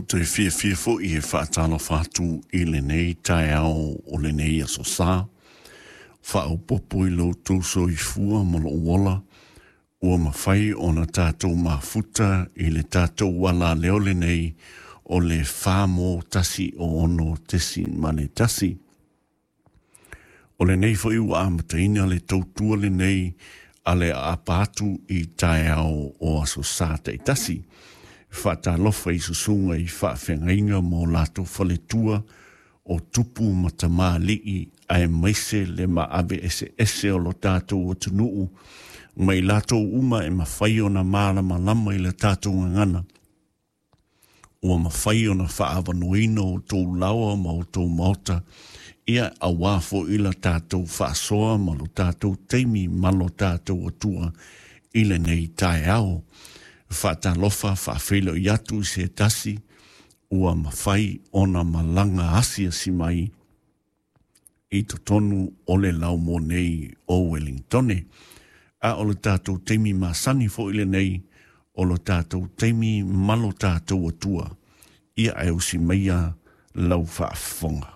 te fiafia foi e faatalofa atu i lenei taeao o lenei Aso Sa, faaopoopo i lo outou soifua ma lou ola, ua mafai ona tatou mafuta i le tatou alaleo lenei o le 4 mo 1 6.1. O lenei foi ua amataina le tautua lenei a le aapa atu i taeao o Aso Sa taitasi. Faatalofa i susuga i faafeagaiga ma o latou faletua o tupu ma tamalii aemaise le maave eseese o lo tatou atunuu ma i latou uma e mafai ona malamalama i le tatou gagana ua mafai ona faaavanoaina o outou laoa ma outou maota ia auā foi la tatou faasoa ma lo tatou taimi ma lo tatou Atua i lenei taeao. Faatalofa faafeiloai atu i se tasi ua mafai ona malaga asiasi mai i totonu o le laumoa nei o Wellingtone. A o le tatou taimi masani foi lenei o lo tatou taimi ma lo tatou Atua. Ia e usi maia lau faafofoga.